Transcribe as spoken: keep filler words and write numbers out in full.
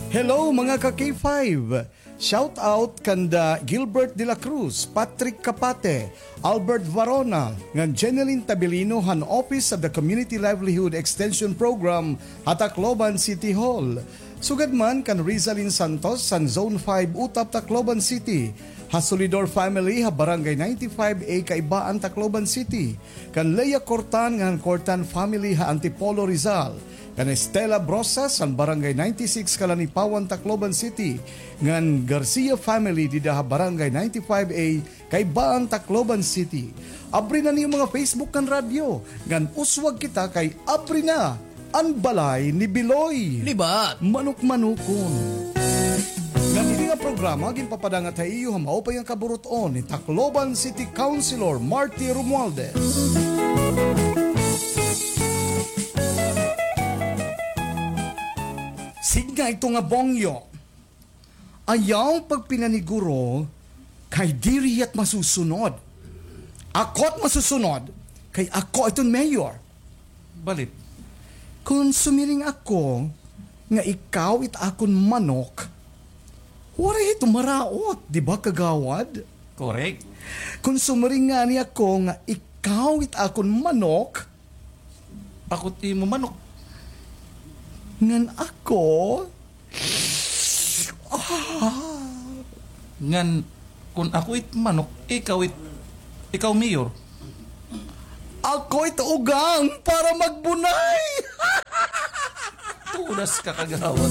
Hello, mga ka-K five! Shout out kanda Gilbert de la Cruz, Patrick Capate, Albert Varona, ngan Jeneline Tabilino han Office of the Community Livelihood Extension Program ha Tacloban City Hall. Sugad man kan Rizalin Santos han Zone five Utap, Tacloban City, ha Solidor family ha Barangay ninety-five A Kaibaan, Tacloban City, kan Lea Cortan ngan Cortan family ha Antipolo, Rizal, kan Estela Brosas han Barangay ninety-six Kalanipawan, Tacloban City, ngan Garcia family dida ha Barangay ninety-five A Kaibaan, Tacloban City. Abri na niyo mga Facebook ngan radyo, ngan uswag kita kay abri na an balay ni Biloy. Libat. Manok-manokon. Ngan ini nga programa ginpapadangat ha iyo ha maupay nga kaburut-on ni Tacloban City Councilor Marty Romualdez. Sidnga ito nga bongyo. Ayaw pagpinaniguro kay diri hiya it masusunod. Ako it masusunod kay ako iton mayor. Balit. Kon sumiring ako nga ikaw it akon manok, waray ito maraot, di ba, kagawad? Correct. Kon sumiring ngani ako nga ikaw it akon manok, ako it imo manok. Ngan ako? Ah. Ngan, kon ako it manok, ikaw it, ikaw mayor. Ako it ugang para magbunay. Tudas ka, kagawad.